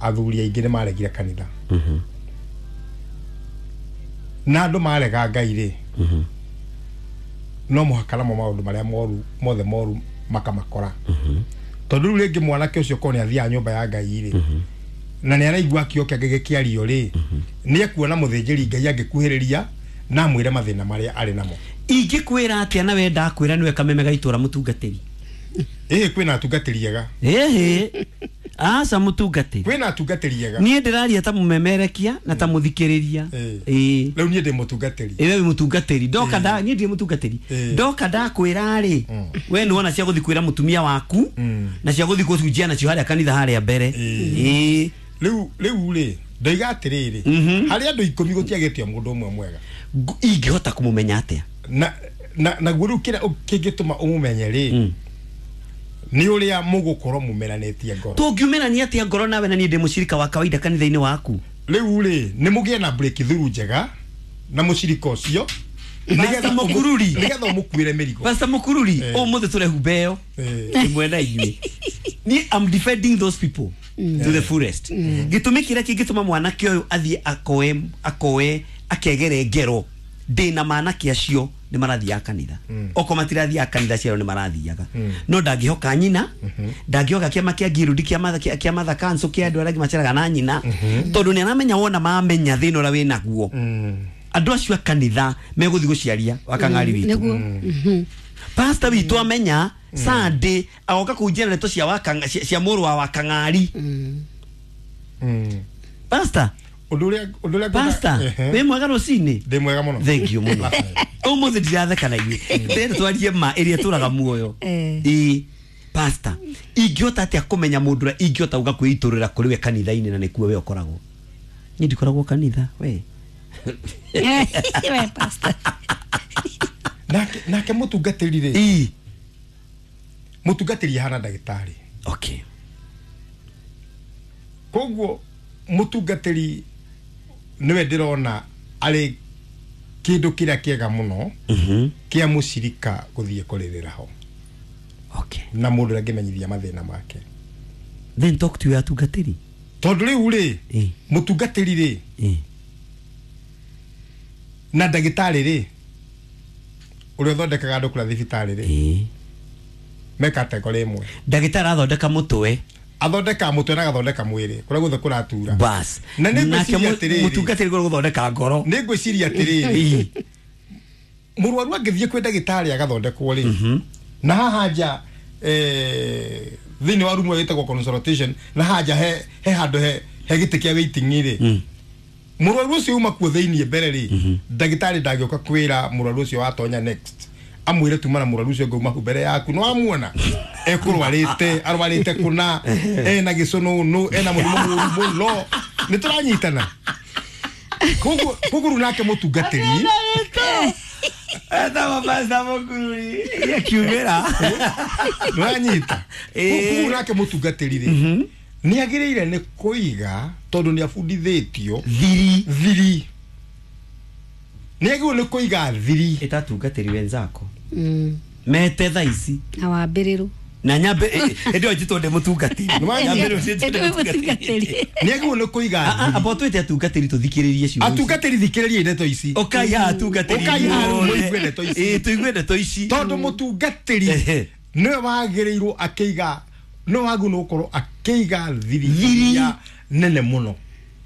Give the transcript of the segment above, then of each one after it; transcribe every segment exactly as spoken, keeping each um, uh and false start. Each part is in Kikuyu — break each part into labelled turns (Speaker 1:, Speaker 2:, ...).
Speaker 1: Athuri aingĩ nĩ maregire kanitha. Na andũ marega Ngai rĩ, no mũhaka namo maũndũ marĩa moru mothe moru makamakora. Tondũ rĩu rĩngĩ mwanake ũcio korwo nĩ athiaga nyũmba ya Ngai rĩ, na nĩ araigua kĩo kĩake gĩkĩario rĩ, nĩ ekuona mũthĩnjĩri Ngai angĩkuhĩrĩria na amwĩre mathĩna marĩa arĩ namo.
Speaker 2: Ingĩkwĩra atĩa na we ndakwĩra nĩwe kameme ga itũra mũtungatĩri?
Speaker 1: Ĩhĩ, kwĩna atungatĩri ega.
Speaker 2: Ĩhĩ, aca mũtungatĩri.
Speaker 1: Kwĩna atungatĩri ega.
Speaker 2: Niĩ ndĩraria ta mũmemerekia na ta mũthikĩrĩria. Ĩĩ.
Speaker 1: Rĩu niĩ ndĩ mũtungatĩri.
Speaker 2: Ĩĩ, we wĩ mũtungatĩri. Ndoka nda niĩ ndirĩ mũtungatĩri. Ndoka ndakwĩra rĩ, we nĩ wona cia gũthiĩ kwĩra mũtumia waku na cia gũthiĩ gũcunjia nacio harĩa kanitha harĩa mbere. Ĩĩ.
Speaker 1: Rĩu rĩu rĩ, ndoiga atĩrĩrĩ, harĩ andũ ikũmi gũtiagĩte mũndũ ũmwe mwega.
Speaker 2: Ingĩhota kũmũmenya atĩa?
Speaker 1: Na na naguo rĩu kĩrĩa kĩngĩtũma ũmũmenye rĩ, nĩ ũrĩa mũgũkorwo mumeranĩtie ngoro.
Speaker 2: Tũngiumerania atĩa ngoro nawe na niĩ ndĩ mũcirika wa kawaida kanitha-inĩ waku?
Speaker 1: Rĩu rĩ, nĩ mũgĩe na breakthrough njega na mũcirika ũcio,
Speaker 2: nĩgetha Mũkururi,
Speaker 1: nĩgetha ũmũkuĩre mĩrigo.
Speaker 2: Pastor Mũkururi, ũmũthĩ tũrehumba ĩyo ĩmwe na inyuĩ. Niĩ I'm defending those people to the fullest. Gĩtũmi kĩrĩa kĩngĩtũma mwanake ũyũ athiĩ akoe akoe akegere ngero, ndĩna manake acio nĩ marathiaga kanitha. Okorwo matirathiaga kanitha, ciao nĩ marathiaga. No ndangĩhoka nyina, ndangĩhoka kĩama kĩa ngirudi, kĩa kĩa Mother Council, kĩa andũ arĩa angĩ maceraga na nyina, tondũ nĩ aramenya wona mamenya thĩna ũrĩa wĩnaguo, andũ acio a kanitha megũthiĩ gũciaria wakang'ari witũ. Pastor witũ amenya Sunday agoka kũhunjia ndeto cia wakanga cia mũrũ wa wakang'ari. Pastor,
Speaker 1: ũndũ ũrĩa ũndũ ũrĩa
Speaker 2: Pastor, wĩ mwega rũcinĩ?
Speaker 1: Ndĩ mwega mũno.
Speaker 2: Thank you mũno. Ũmũthĩ ndiratheka na inyuĩ, ndĩrenda twarie ma ĩrĩa ĩtũraga muoyo. Ĩĩ, Pastor, ingĩhota atĩa kũmenya mũndũ ũrĩa ingĩhota gũka kwĩitũrũra kũrĩ we kanitha-inĩ na nĩkuo we ũkoragwo? Niĩ ndikoragwo kanitha, we.
Speaker 3: We pastor.
Speaker 1: Nake nake mũtungatĩri rĩ,
Speaker 2: Ĩĩ.
Speaker 1: Mũtungatĩri ahana ndagĩtarĩ.
Speaker 2: Okay.
Speaker 1: Koguo mũtungatĩri nĩwe ndĩrona arĩ kĩndũ kĩrĩa kĩega mũno kĩa mũcirika gũthiĩ kũrĩrĩra ho.
Speaker 2: Okay.
Speaker 1: Na mũndũ ũrĩa angĩmenyithia mathĩna make.
Speaker 2: Then talk to your atungatĩri.
Speaker 1: Tondũ rĩu rĩ, mũtungatĩri rĩ, na ndagĩtarĩ rĩ, ũrĩa ũthondekaga andũ kũrĩa thibitarĩ rĩ, me category ĩmwe.
Speaker 2: Ndagĩtarĩ arathondeka mũtwe.
Speaker 1: Athondeka mũtwe na agathondeka mwĩrĩ kũrĩa guothe kũratura.
Speaker 2: Bas.
Speaker 1: Na nĩ ngwĩciria atĩrĩrĩ,
Speaker 2: mũtungatĩri kũrĩa gũthondeka ngoro.
Speaker 1: Nĩ ngwĩciria atĩrĩrĩ, mũrwaru angĩthiĩ kwĩ ndagĩtarĩ agathondekwo rĩ, na haha nja eh thĩinĩ wa rumu ĩtagwo consultation, na haha nja he he handũ he he gĩtĩ kĩa waiting rĩ, mũrwaru ũcio uma kuo thĩinĩ mbere rĩ, ndagĩtarĩ ndangĩũka kwĩra mũrwaru ũcio watonya next amwĩre tuma na mũrwaru ũcio ngauma hau mbere yaku no amuona ekũrwarĩte arwarĩte kũna ena gĩcũnũnũ ena mũrimũ mũũru mũno, nĩ tũranyitana. Koguo koguo nake mũtungatĩri
Speaker 2: etagwo Pastor Mũkururi akiumĩra
Speaker 1: nĩwanyita. Koguo nake mũtungatĩri rĩ, nĩ agĩrĩire nĩ kũiga, tondũ nĩ abundithĩtio
Speaker 2: thiri
Speaker 1: thiri, nĩ agĩrĩirwo nĩ kũiga thiri.
Speaker 2: Ĩtatungatĩri wenzako mete thaa ici
Speaker 3: na wambĩrĩrwo
Speaker 2: na nyambe ĩndĩ ĩyo njĩtwo ndĩ mũtungatĩri.
Speaker 3: Mũtungatĩri
Speaker 1: nĩ agĩrĩirwo nĩ kũiga.
Speaker 2: Amba twĩte atungatĩri tũthikĩrĩrie ciugo.
Speaker 1: Atungatĩri thikĩrĩrie ndeto ici.
Speaker 2: Ũkai haha atungatĩri,
Speaker 1: ũkai haha mũigue ndeto ici.
Speaker 2: Ĩĩ, tũigue ndeto ici,
Speaker 1: tondũ mũtungatĩri nĩwe wagĩrĩirwo akĩiga, nĩwe wagĩrĩirwo gũkorwo akĩiga thiri iria nene mũno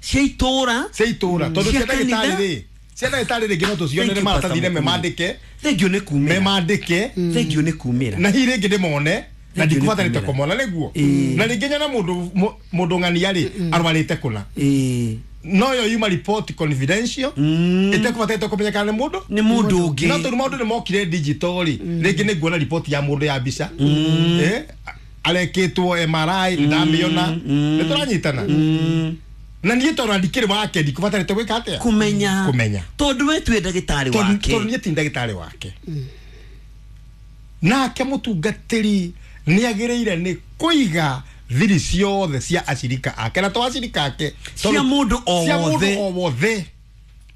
Speaker 2: cia itũra,
Speaker 1: cia itũra, tondũ cia ndagĩtarĩ rĩ, cia ndagĩtarĩ rĩngĩ no tũcionere maratathi-inĩ memandĩke.
Speaker 2: Thengiũ nĩ kumĩra,
Speaker 1: memandĩke.
Speaker 2: Thengiũ nĩ kumĩra,
Speaker 1: na hihi rĩngĩ ndĩmone na ndikũbatarĩte kũmona nĩguo, na rĩngĩ nyona mũndũ mũndũ ng'ania rĩ arwarĩte kũna, no yo yuma report confidential ĩtekũbatarĩte kũmenyekana nĩ mũndũ
Speaker 2: nĩ mũndũ ũngĩ.
Speaker 1: No tondũ maũndũ nĩ mokire digital rĩ, rĩngĩ nĩ nguona report ya mũndũ ya mbica eh arekĩtwo M R I ndamĩona, nĩ tũranyitana. Na niĩ tondũ ndikĩrĩ wake ndikũbatarĩte gwĩka atĩa?
Speaker 2: Kũmenya.
Speaker 1: Kũmenya.
Speaker 2: Tondũ we twĩ ndagĩtarĩ wake.
Speaker 1: Tondũ niĩ ti ndagĩtarĩ wake. Nake mũtungatĩri nĩ agĩrĩire nĩ kũiga thiri ciothe cia acirika ake, na to acirika ake,
Speaker 2: cia mũndũ o
Speaker 1: cia
Speaker 2: wothe,
Speaker 1: mũndũ o wothe,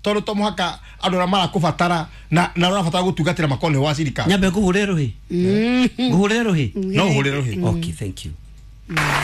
Speaker 1: tondũ to mũhaka andũ arĩa marakũbatara na na ũrabatara gũtungatĩra makorwo nĩ wa acirika.
Speaker 2: Nyambe ngũhũre rũhĩ, ngũhũre rũhĩ.
Speaker 1: No ũhũre rũhĩ.
Speaker 2: Okay, thank you.